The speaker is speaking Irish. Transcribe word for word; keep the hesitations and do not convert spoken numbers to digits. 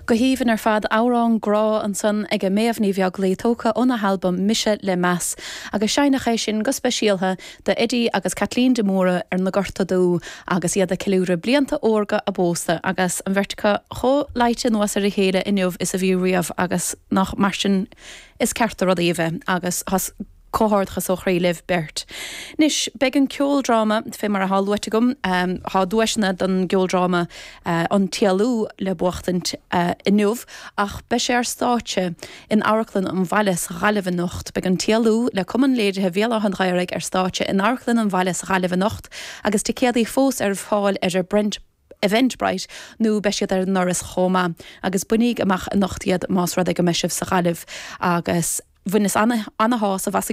Go haoibhinn ar fad amhrán grá ansan ag Méabh Ní Bheaglaoich tógtha óna halbam Mise le Meas, agus seinneadh é sin go speisialta do Eddie agus Kathleen de Mórdha ar na Gorta Dubha agus iad ag ceiliúradh blianta órga a bpósta agus an bheirt acu chomh luite anuas ar a chéile inniu is a bhí riamh agus nach mar sin is ceart do rudaí a bheith agus has comhghairdeachas ó chroí libh beirt. Anois beidh an ceoldráma fé mar atá luaite agam um, tá duaiseanna don gceoldráma uh, an tÉalú le buachtaint uh, inniu ach beidh sé ar stáitse in Amharclann an Bhaile sa Ghaillimh anocht, Beidh an tÉalú le Cumann Léirithe Bhéal Átha an Ghaorthaidh ar stáitse in Amharclann an Bhaile sa Ghaillimh anocht agus ticéadaí fós ar fáil ar ar Brent Eventbrite nó beidh siad ar an ndoras chomh maith agus bainigí amach anocht iad más rud é go mbeidh sibh sa Ghaillimh agus bhaineas an-shásamh as